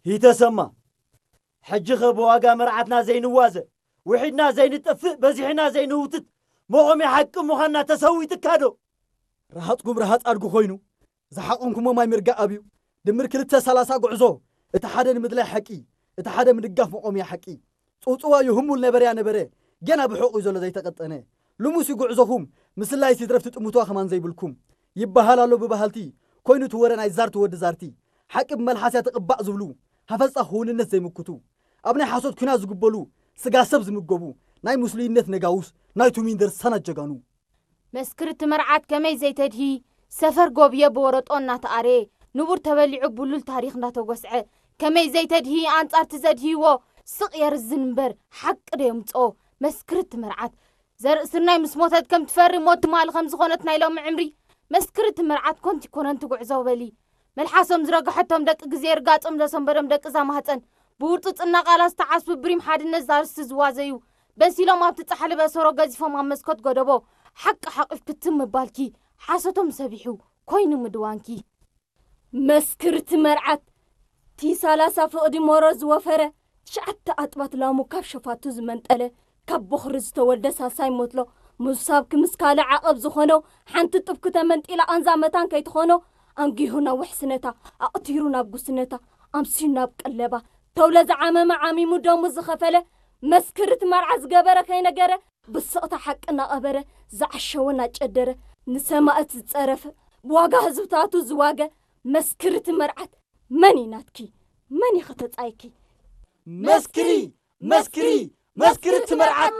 ይተሰማ፣ ሕጂኸ ብዋጋ መርዓትና ዘይንዋዘ፣ ውሒድና ዘይንጠፍእ፣ በዚሕና ዘይንውትት፣ መቖምያ ሓቂ ምዃንና ተሰዊጥካ ዶ? ረሃጽኩም ረሃጽ ኣድጉ ኮይኑ፣ ዝሓቆንኩሞ ማይ ምርጋእ ኣብዩ። ድምር ክልተ ሰላሳ ጉዕዞ፣ እቲ ሓደ ንምድላይ ሓቂ፣ እቲ ሓደ ምድጋፍ መቖምያ ሓቂ። ጽውጽዋዩ ህሙል ነበረያ ነበረ፣ ገና ብሑቕ እዩ ዘሎ ዘይተቐጠነ። ልሙስ እዩ ጉዕዞኹም፣ ምስላይስ ይትረፍ ትጥምትዋ ከማን ዘይብልኩም። ይበሃል ኣሎ ብበሃልቲ፣ ኮይኑ እቲ ወረ ናይ ዛርቲ ወዲ ዛርቲ። ሓቂ ብመልሓስያ ትቕባእ ዝብሉ፣ ሃፈጻ ክውንነት ዘይምክቱ። ኣብ ናይ ሓሶት ኲናት ዝጉበሉ፣ ስጋ ሰብ ዝምገቡ፣ ናይ ምስሉይነት ነጋውስ፣ ናይ ቱሚን ደርሳናት ጀጋኑ። መስክርቲ መርዓት ከመይ ዘይተድሂ፣ ሰፈር ጎብየ ብወረጦ እናተኣረየ፣ ንቡር ተበሊዑ ብሉል ታሪኽ እንዳተጎስዐ፣ ከመይ ዘይተድሂ፣ ኣንጻርቲ ዘድህይዎ ስቕ የርዝን እምበር ሓቂ ዶ የምጽኦ? መስክርቲ መርዓት ዘርኢ ስርናይ ምስ ሞተት ከም ትፈሪ ሞት ትማሊ ከም ዝኾነት ናይ ሎሚ ዕምሪ፣ መስክርቲ መርዓት ኮንቲ ኮነንቲ ጉዕዞ በሊ። መልሓሶም ዝረግሐቶም ደቂ ግዜ ርጋጾም ዘሰንበዶም ደቂ እዛ ማህጸን፣ ብውርጽጽና ቃላት ዝተዓስቡ ብሪም ሓድነት ዛርስቲ ዝዋዘዩ፣ በሲሎም ኣብቲ ጻሕሊ በሰሮ ገዚፎም ኣብ መስኮት ጎደቦ፣ ሓቂ ሓቂፍ ክትም ምባልኪ፣ ሓሶቶም ሰቢሑ፣ ኮይኑ ምድዋንኪ። መስክርቲ መርዓት፣ ቲ ሰላሳ ፍቕዲ ሞሮ ዝወፈረ፣ ትሽዓተ ኣጥባት ላሙ ካብ ሸፋቱ ዝመንጠለ፣ ካብ ቦኽሪ ዝተወልደ ሳልሳይ ሞትሎ፣ ምሳብ ክምስ ካልእ ዓቐብ ዝኾኖ፣ ሓንቲ ጥብኪ ተመንጢላ ቃንዛ መታን ከይትኾኖ፣ ኣንጊሁ ናብ ውሕስነታ፣ ኣቕቲሩ ናብ ጉስነታ፣ ኣምስዩ ናብ ቀለባ፣ ተውለ ዝዓመመ ዓሚሙ ደሙ ዝኸፈለ፣ መስክርት መርዓ ዝገበረ ከይነገረ፣ ብስቕታ ሓቂ እናቐበረ፣ ዝዓሸወ እናጨደረ፣ ንሰማእት ዝጸረፈ፣ ብዋጋ ህዝብታቱ ዝዋገ፣ መስክርት መርዓት መን እዩ ናትኪ? መን እዩ ከተጻይኪ? መስክሪ፣ መስክሪ፣ መስክርት መርዓት